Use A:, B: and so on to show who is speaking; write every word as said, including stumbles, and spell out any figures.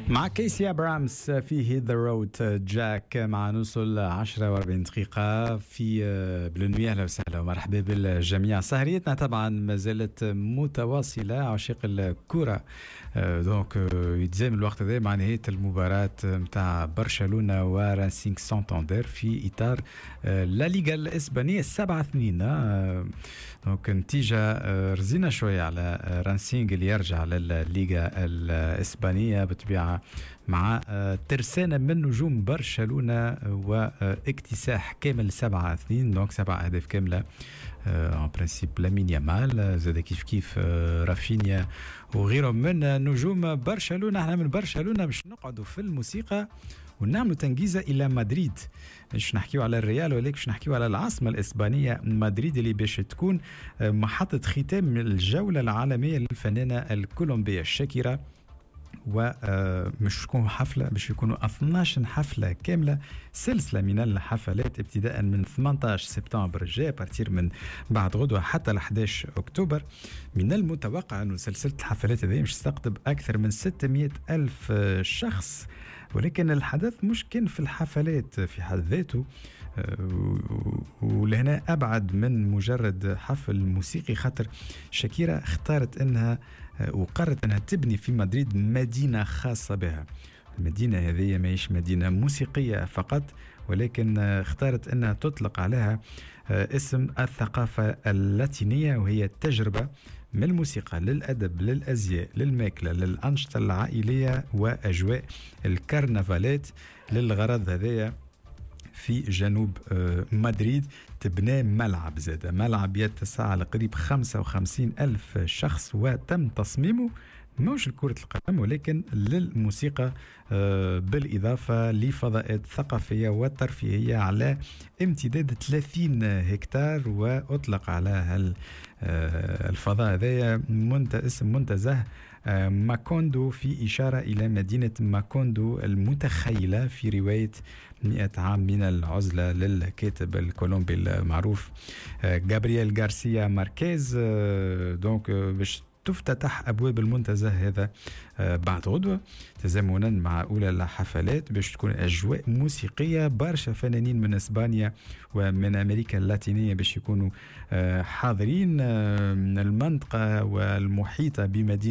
A: مع كيسي ابرامس في Hit the Road Jack، مع نوصل عشرة وأربعين دقيقة في Bleu Nuit. اهلا وسهلا ومرحبا بالجميع. سهريتنا طبعا ما زالت متواصلة. عشاق الكرة، donc يتزامن الوقت هذا مع نهاية المباراة نتاع برشلونة وراسينغ سانتاندير في إطار لا ليغا الإسبانية، سبعة اثنين. donc نتيجة رزينة شوية على رانسينغ اللي يرجع للليغا الإسبانية بالطبيعة مع ترسانة من نجوم برشلونة واكتساح كامل سبعة اثنين، donc سبع أهداف كاملة. en principe لامين يامال، زاد كيف كيف رافينيا وغيرهم من نجوم برشلونة. احنا من برشلونة باش نقعدوا في الموسيقى ونعملوا تنقيزة إلى مدريد، مش نحكيو على الريال ولكن باش نحكيو على العاصمة الإسبانية مدريد اللي باش تكون محطة ختام الجولة العالمية للفنانة الكولومبية شاكيرا. ومش تكون حفلة، باش يكونوا اثناش حفلة كاملة، سلسلة من الحفلات ابتداء من ثمنطاش سبتمبر الجاي، à partir من بعد غدوة، حتى ل أحداش أكتوبر. من المتوقع أن سلسلة الحفلات هذه مش تستقطب أكثر من ستمية ألف شخص، ولكن الحدث مش كان في الحفلات في حد ذاته، ولهنا أبعد من مجرد حفل موسيقي، خاطر شاكيرا اختارت أنها وقررت أنها تبني في مدريد مدينة خاصة بها. المدينة هذه ماهيش مدينة موسيقية فقط، ولكن اختارت أنها تطلق عليها اسم الثقافة اللاتينية، وهي تجربة من الموسيقى للأدب للأزياء للماكلة للأنشطة العائلية وأجواء الكرنفالات. للغرض هذايا في جنوب آه، مدريد تبنى ملعب زاد، ملعب يتسع لقريب خمسة وخمسين ألف شخص، وتم تصميمه مش لكرة القدم ولكن للموسيقى، آه، بالإضافة لفضاءات ثقافية وترفيهية على امتداد ثلاثين هكتار. وأطلق على آه، الفضاء هذايا اسم منتزه آه، ماكوندو، في إشارة إلى مدينة ماكوندو المتخيلة في رواية مئة عام من العزلة للكاتب الكولومبي المعروف جابرييل غارسيا ماركيز. donc باش تفتتح أبواب المنتزه هذا آه، بعد غدوة تزامنا مع أولى الحفلات، باش تكون أجواء موسيقية، برشا فنانين من إسبانيا ومن أمريكا اللاتينية باش يكونوا آه، حاضرين. آه، من المنطقة والمحيطة بمدينة